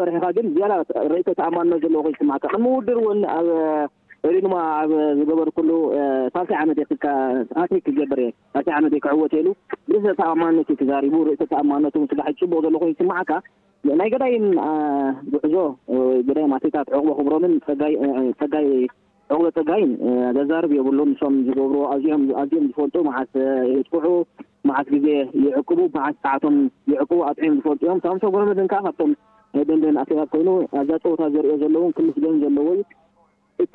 ሰሪሕኻ ግን ዝያዳ ርእሰ ተኣማንነት ዘለዎ ኮይኑ ይስምዓካ። ቅድሚ ውድድር እውን ኣብ ሪንማ ኣብ ዝገበርኩሉ ሳልሳይ ዓመት እየ ሃትሪክ ክገብር እየ፣ ሳልሳይ ዓመት እየ ክዕወት ኢሉ ብርእሰ ተኣማንነት እዩ ተዛሪቡ። ርእሰ ተኣማንነቱ እውን ስጋሕ ጽቡቕ ዘሎ ኮይኑ ይስምዓካ። ናይ ገዳይም ጉዕዞ ገዳይም ኣትሌታት ዕቑበ ክብሮምን ጸጋይ ጸጋይ ዕቑበ ጸጋይን ዘዛርብ የብሉን። ንሶም ዝገብርዎ ኣዝዮም ኣዝዮም ዝፈልጡ፣ መዓስ የጥቅዑ፣ መዓስ ግዜ ይዕቅቡ፣ መዓስ ሰዓቶም ይዕቅቡ ኣጥዕዮም ዝፈልጡ እዮም። ሳምሶን ገብረመድህን ከኣ ካብቶም ናይ ደንደን ኣትሌታት ኮይኑ ኣብዛ ጸወታ ዘርእዮ ዘለውን ክምስገን ዘለዎ እዩ። እቲ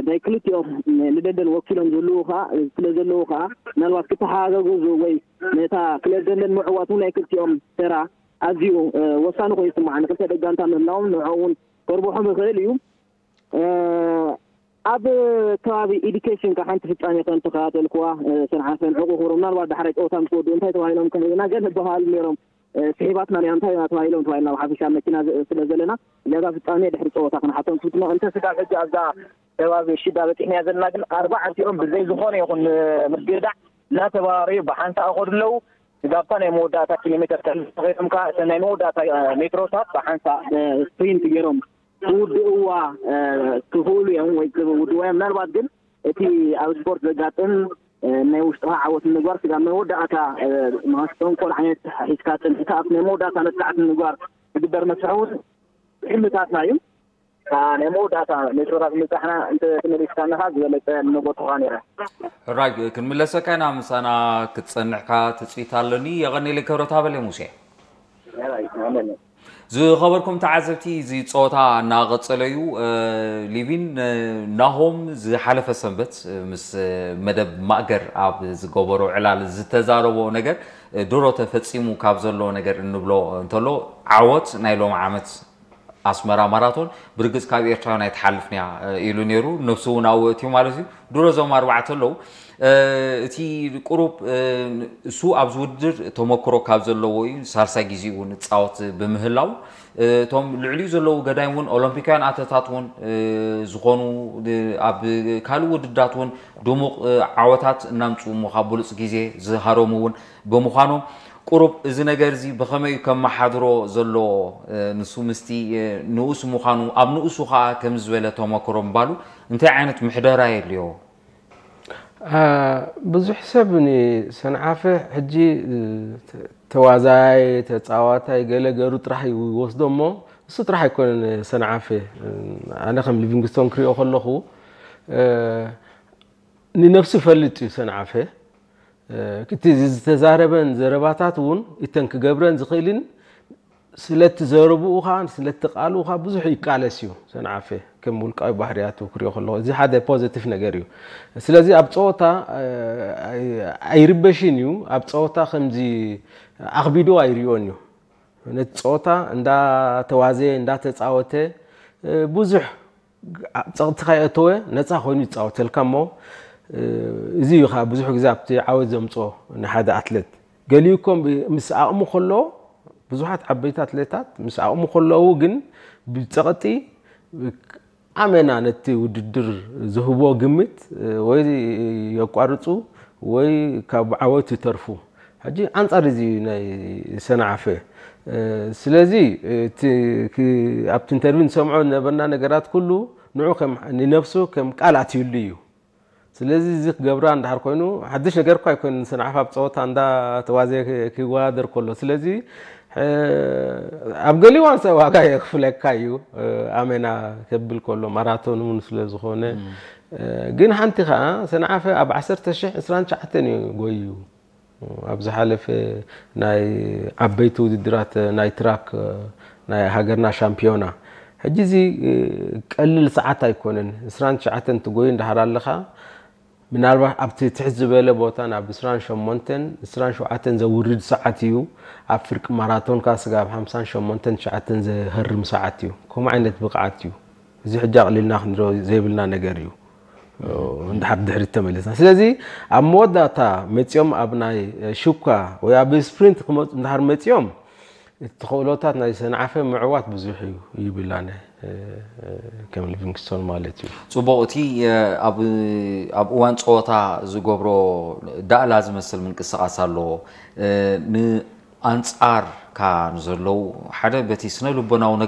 ናይ ክልቲኦም ንደንደን ወኪሎም ዝህልዉ ከኣ ስለ ዘለዉ ከኣ ምናልባት ክተሓጋገዙ ወይ ነታ ክለብ ደንደን ምዕዋት እውን ናይ ክልቲኦም ተራ ኣዝዩ ወሳኒ ኮይኑ ይስምዓኒ። ክልተ ደጋንታ ምህላዎም ንዕኦም እውን ከርብሖም ይኽእል እዩ። ኣብ ከባቢ ኢዱኬሽን ከ ሓንቲ ፍጻሜ ከም ተኸታተልኩዋ፣ ሰንዓፈን ዕቑ ክብሮ ምናልባት ዳሕራይ ጸወታ ምስ ወድኡ እንታይ ተባሂሎም ከም ርኢና ገለ በሃሉ ነይሮም። ስሒባትና ሪኣ እንታይ ኢና ተባሂሎም ተባሂልና ብሓፈሻ መኪና ስለ ዘለና እዚኣ ፍጻሜ ድሕሪ ጸወታ ክንሓቶም ክፍትኖ እንተ ስጋብ ሕጂ ኣብዛ ከባቢ ሽዳ በጺሕናያ ዘለና ግን ኣርባዕቲኦም ብዘይ ዝኾነ ይኹን ምግዳዕ እናተባራረዩ ብሓንሳእ ይኸዱ ኣለዉ። ስጋብታ ናይ መወዳእታ ኪሎ ሜትር ከይዶም ከዓ እተን ናይ መወዳእታ ሜትሮታት ብሓንሳእ ስፕሪንት ገይሮም ክውድእዋ ክኽእሉ እዮም ወይ ክውድእዋ እዮም። ምናልባት ግን እቲ ኣብ ስፖርት ዘጋጥም ናይ ውሽጥኻ ዓወት ንምግባር ስጋብ መወዳእታ ማስተንኮል ዓይነት ሒዝካ ፅንሕካ ኣብ ናይ መወዳእታ መጥቃዕቲ ንምግባር ዝግበር መስርሕ እውን ሕልምታትና እዩ። ናይ መወዳእታ ሜትሮታት ምብፃሕና እንተተመሊስካንኻ ዝበለፀ ንጎትኻ ነይረ። ሕራይ ክንምለሰካ ኢና፣ ምሳና ክትፀንሕካ ትፅቢት ኣለኒ። የቐኔለይ ክብረት ሃበለይ ሙሴ። ዝኸበርኩም ተዓዘብቲ፣ እዚ ፀወታ እናቐፀለ እዩ። ሊቪን ናሆም ዝሓለፈ ሰንበት ምስ መደብ ማእገር ኣብ ዝገበሮ ዕላል ዝተዛረቦ ነገር ድሮ ተፈፂሙ ካብ ዘሎ ነገር እንብሎ እንተሎ ዓወት ናይ ሎም ዓመት ኣስመራ ማራቶን ብርግፅ ካብ ኤርትራውያን ኣይትሓልፍን እያ ኢሉ ነይሩ። ነብሱ እውን ኣብኡ እትዩ ማለት እዩ። ድሮ እዞም ኣርባዕተ ኣለዉ። እቲ ቁሩብ እሱ ኣብዚ ውድድር ተመክሮ ካብ ዘለዎ እዩ። ሳልሳይ ግዜ እውን እፃወት ብምህላው እቶም ልዕሊኡ ዘለዉ ገዳይም እውን ኦሎምፒካውያን ኣተታት እውን ዝኾኑ ኣብ ካልእ ውድድራት እውን ድሙቕ ዓወታት እናምፅኡ እሞ ካብ ብሉፅ ግዜ ዝሃረሙ እውን ብምዃኖም ቁሩብ እዚ ነገር እዚ ብኸመይ እዩ ከመሓድሮ ዘለዎ ንሱ ምስቲ ንኡስ ምዃኑ ኣብ ንኡሱ ከዓ ከምዚ ዝበለ ተመክሮ ምባሉ እንታይ ዓይነት ምሕደራ የድልዮ? ብዙሕ ሰብ ንሰንዓፈ ሕጂ ተዋዛይ ተፃዋታይ ገለ ገሩ ጥራሕ ይወስዶ እሞ እሱ ጥራሕ ኣይኮነን ሰንዓፈ። ኣነ ከም ሊቪንግስቶን ክሪኦ ከለኹ ንነብሱ ይፈልጥ እዩ ሰንዓፈ። እቲ ዝተዛረበን ዘረባታት እውን እተን ክገብረን ዝኽእልን ስለቲ ዘረብኡ ኸዓ ስለቲ ቃልኡ ኸዓ ብዙሕ ይቃለስ እዩ ሰንዓፈ። ከም ውልቃዊ ባህርያቱ ክሪኦ ከለኹ እዚ ሓደ ፖዘቲቭ ነገር እዩ። ስለዚ ኣብ ፀወታ ኣይርበሽን እዩ። ኣብ ፀወታ ከምዚ ኣኽቢዱ ኣይሪኦን እዩ። ነቲ ፀወታ እንዳተዋዘየ እንዳተፃወተ ብዙሕ ኣብ ፀቕጥኻ የእተወ ነፃ ኮይኑ ይፃወተልካ እሞ እዚ እዩ ከዓ ብዙሕ ግዜ ኣብቲ ዓወት ዘምፅኦ ንሓደ ኣትሌት። ገሊኡ እኮ ምስ ዓቕሙ ከሎ ብዙሓት ዓበይቲ ኣትሌታት ምስ ዓቕሙ ከለዉ ግን ብፀቕጢ ኣመና ነቲ ውድድር ዝህቦ ግምት ወይ የቋርፁ ወይ ካብ ዓወት ይተርፉ። ሕጂ ኣንፃር እዚ ናይ ሰንዓፈ ስለዚ ኣብቲ ኢንተርቪው ንሰምዖ ዝነበርና ነገራት ኩሉ ንዑ ንነብሱ ከም ቃል ኣትዩሉ እዩ። ስለዚ እዚ ክገብራ እንድሕር ኮይኑ ሓድሽ ነገር እኳ ኣይኮነ ንሰንዓፈ ኣብ ፀወታ እንዳተዋዘየ ክወዳደር ከሎ ስለዚ ኣብ ገሊኡ እዋን ሰብ ዋጋ የኽፍለካ እዩ ኣመና ከብል ከሎ ማራቶን እውን ስለ ዝኾነ ግን ሓንቲ ከዓ ሰንዓፈ ኣብ ዓሰርተ ሽሕ ዕስራን ትሽዓተን እዩ ጎዩ። ኣብ ዝሓለፈ ናይ ዓበይቲ ውድድራት ናይ ትራክ ናይ ሃገርና ሻምፒዮና ሕጂ እዚ ቀልል ሰዓት ኣይኮነን። ዕስራን ትሽዓተን ትጎዩ እንዳሓር ኣለኻ ምናልባት ኣብቲ ትሕት ዝበለ ቦታ ናብ ዕስራን ሸሞንተን ዕስራን ሸውዓተን ዘውርድ ሰዓት እዩ። ኣብ ፍርቂ ማራቶን ካ ስጋብ ሓምሳን ሸሞንተን ትሽዓተን ዘህርም ሰዓት እዩ። ከምኡ ዓይነት ብቕዓት እዩ። እዚ ሕጂ ኣቕሊልና ክንሪኦ ዘይብልና ነገር እዩ። እንድሓር ድሕሪት ተመሊስና ስለዚ ኣብ መወዳእታ መፂኦም ኣብ ናይ ሹካ ወይ ኣብ ስፕሪንት ክመፁ እንድሓር መፂኦም እቲ ተኽእሎታት ናይ ሰንዓፈ ምዕዋት ብዙሕ እዩ ይብል ኣነ ከም ሊቪንግስቶን ማለት እዩ። ፅቡቕ እቲ ኣብ እዋን ፀወታ ዝገብሮ ዳእላ ዝመስል ምንቅስቓስ ኣለዎ። ንኣንፃርካ ንዘለዉ ሓደ በቲ ስነ ልቦናዊ